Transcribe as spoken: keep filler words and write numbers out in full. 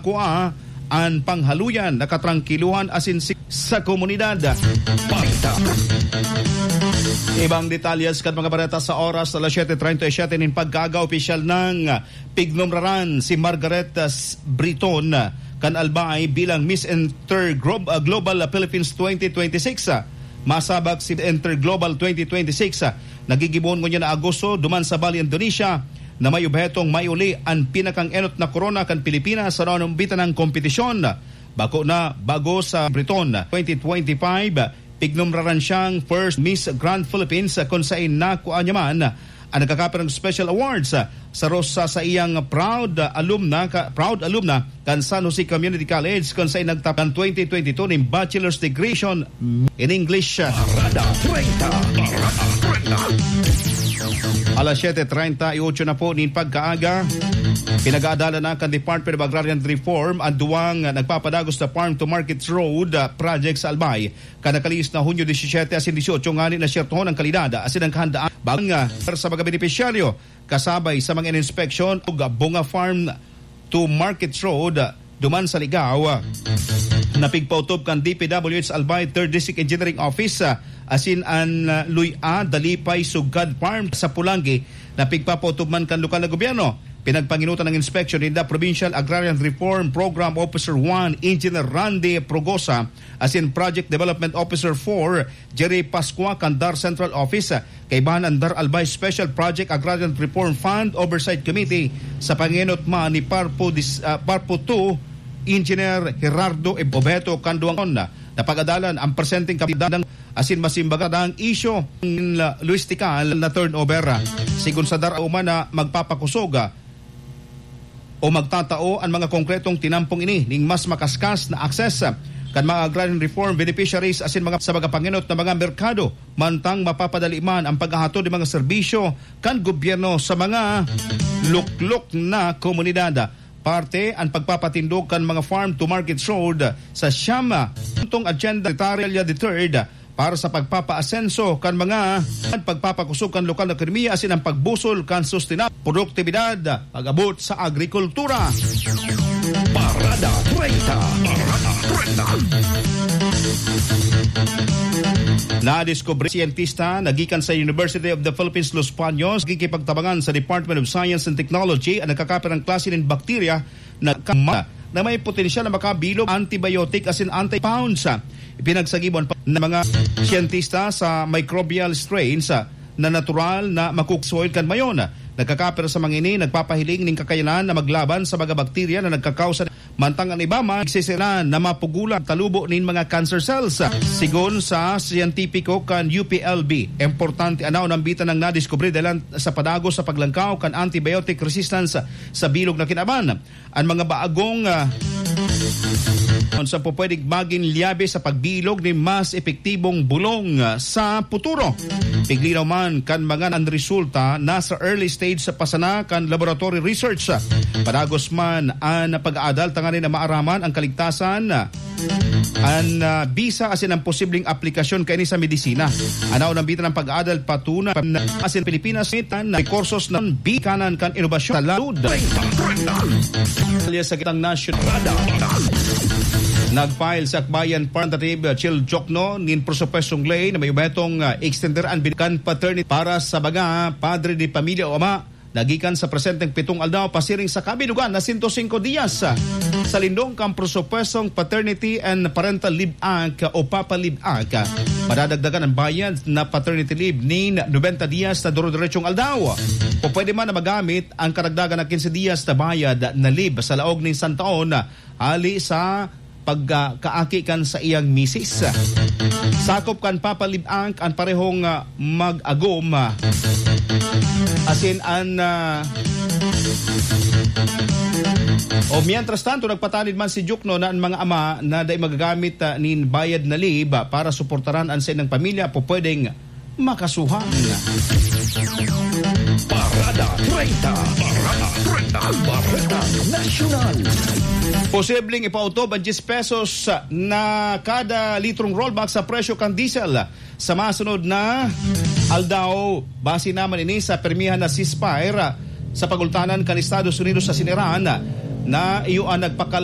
kua an panghaluyan, nakatrangkiluhan asin si-, sa komunidad. Balita. Ibang detalles kan mga bareta sa oras, alas siyete treinta y siete nin pagkaaga, opisyal nang pignumraran si Margaret, ah, S-, Briton, ah, kan Albay bilang Miss Inter-, Glo-, ah, Global Philippines twenty twenty-six, ah. Masabak si Inter Global twenty twenty-six, ah, nagigibohon ngunyan na Agosto duman sa Bali, Indonesia, na may obhetong maiuli an pinakang-enot na korona kan Pilipinas sa naunumbitan ng kompetisyon. Bako na, bago sa Briton twenty twenty-five, pignumraran siyang first Miss Grand Philippines, kun saen nakua niya man ang nagkakapirang special awards sa Rosa sa iyang proud alumna, ka, proud alumna kan San Jose Community College, kun saen nagtapos kan twenty twenty-two nin bachelor's degree in English. Parada treinta. Parada treinta. Alas siyete treinta y ocho na po nin pagkaaga. Pinag-aadalan na kan Department of Agrarian Reform ang duwang nagpapadagos na farm to market road, ah, project sa Albay. Kan nakalihis na Hunyo disisiyete asin disyotso ngani nasyertohon ang kalidad asin ang kahandaan bang, ah, sa mga benepisyaryo, kasabay sa mga inspeksyon ug Bunga Farm to Market Road, ah, duman sa Ligao, ah, na pigpautob kan D P W H Albay Third District Engineering Office, ah, asin an, ah, Luy-a Dalipay Sugkad Farm sa Pulanggi na pigpapautob man kan lokal na gobyerno. Pinagpanginutan ang inspeksyon ninda Provincial Agrarian Reform Program Officer one, Engineer Randy Progosa, asin Project Development Officer four, Jerry Pascua, kan DAR Central Office. Kaibahan an DAR Albay Special Project Agrarian Reform Fund Oversight Committee sa pangenot man ni Parpo dis-, ah, Parpo two, Engineer Gerardo Ibobeto Canduangon. Napag-adalan ang presenteng kapitang asin masimbaga ang isyu ng logistikal na turnover. Sigon sa DAR, uman na magpapakosog o magtatao an mga konkretong tinampong ini ning mas makaskas na access kan mga agrarian reform beneficiaries asin mga sa mga pangenot na mga merkado, mantang mapapadali man ang paghahatod ng mga serbisyo kan gobyerno sa mga luklok na komunidad. Parte ang pagpapatindog kan mga farm to market road sa siyam na puntong agenda, Secretary the third, para sa pagpapaasenso kan mga pagpapakosog kan lokal na ekonomiya asin ang pagbusol kan sustenab produktibidad pag-abot sa agrikultura. Parada treinta. Parada treinta. Nadiskubre siyentista na gikan sa University of the Philippines Los Baños, gikipagtabangan sa Department of Science and Technology ang nagkakapirang klase nin bakterya na kama na may potensyal na makabilog antibiotic asin anti-pounds. Ipinagsagibuan pa ng mga siyentista sa microbial strains na natural na makuksoy kan mayon. Nagkakapira sa mga ini, nagpapahiling ning kakayanan na maglaban sa mga bakterya na nagkakausa, mantang ang iba man nagsisira na mapugulan talubo nin mga cancer cells. Sigon sa siyentipiko kan U P L B, importante an naunambitan ng nadiskubre dalan sa padagos sa paglangkaw kan antibiotic resistance sa bilog na kinaban. An mga bagong, ah, sa pupwedeng magin liyabe sa pagbilog nin mas epektibong bulong, ah, sa puturo. Piglinaw man kan mga an resulta nasa early stage sa pasana kan laboratory research. Padagos man an pag-aadal tanganing na maaraman ang kaligtasan, ah, an, ah, bisa asin ang posibleng aplikasyon kaini sa medisina. Anaw nambitan ang pag-aadal patunay asin Pilipinas mitan na rekursos ng bikanan kan inobasyon sa laud. Alias sa kitang nasyonal. Nag-file sa Akbayan Representative Chil Jokno nin presupuestong ley na may obhetong, ah, extender an bin-, kan paternity para sa mga padre de pamilya o ama na gikan sa presenteng pitong aldaw pasiring sa kabilugan na sento singko diyas. Sa lindong kan presupuestong Paternity and Parental Leave Act o Papa Leave Act, madadagdagan ang bayad na paternity leave nin nobenta diyas na duro-diretsyong aldaw. O pwede man na magamit ang karagdagan na kinse diyas na bayad na leave sa laog nin isang taon, hali sa pagkaaki kan saiyang misis. Sakop kan Papa Leave Act an parehong, ah, mag-agom, ah, asin an, ah, o mientras tanto, nagpatanid man si Jokno na an mga ama na dai magagamit, ah, nin bayad na leave, ah, para suportaran an saindang pamilya, pupwedeng makasuhan. Parada treinta. Parada treinta. Bareta Nasyonal. Posibleng ipautob ang diyes pesos na kada litrong rollback sa presyo kan diesel sa masunod na aldaw. Base naman ini sa pirmihan na ceasefire sa pagultanan kan Estados Unidos asin Iran na iyo an nagpakal-